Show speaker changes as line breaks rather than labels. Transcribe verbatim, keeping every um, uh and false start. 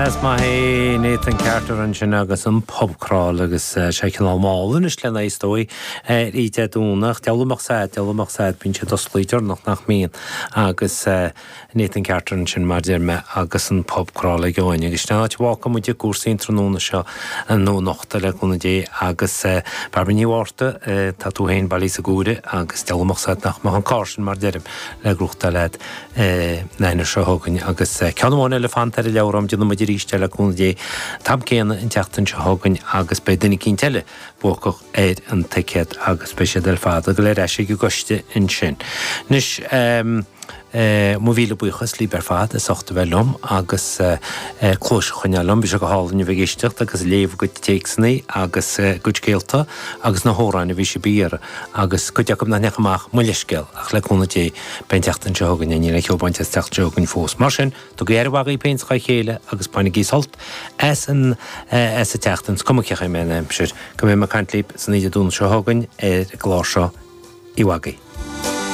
Is maith é Nathan Carter ansin agus an pub crawl agus sé cineál mall anois lena is dóigh ar Dé Domhnach. Deabhal amach sad, deabhal amach sad, bíonn siad oscailte deireanach nach mbíonn agus Nathan Carter ansin mar deir mé agus an pub crawl ag Eoin. Agus sin an áit a bhfágfaidh muid i gcúrsaí an tráthnóna seo nó anocht le cúnamh Dé agus Bairbre Ní Mhárta, tá tú féin bailithe sa gCuaire agus deabhal amach sad nach mbeadh an carr sin mar deirim le gnóthachtáil agat an Aoine seo chugainn agus ceann amháin eile fanta ar an leabhrán, déanfaidh muid arís é le cúnamh Dé an t-am céanna an tseachtain seo chugainn agus beidh duine eicínt eile buacach ar an ticéad agus beidh siad ar fad ag dul ar ais ag an gcoiste ansin. Anois, mo mhíle buíochas libh ar fad as ucht a bheith liom agus cluais a choinneáil liom. Bhí sé go hálainn a bheith ag éisteacht agus ag léamh a gcuid téacsanna agus a gcuid scéalta agus na hamhráin a bhí sibh a iarraidh agus cuid acu nach ndeachaigh amach, mo leithscéal, ach le cúnamh Dé beidh an tseachtain seo chugainn, níl aon cheo bainte as an tseachtain seo chugainn fós. Mar sin, tugaigí aire mhaith dhaoibh féin 's dhá chéile agus bainigí sult as an as an tseachtain, 's cuma cén chaoi a mbeidh an aimsir, go mbeidh mé ag caint libh san oíche Dé Domhnaigh seo chugainn ar an gclár seo, Oíche mhaith agaibh.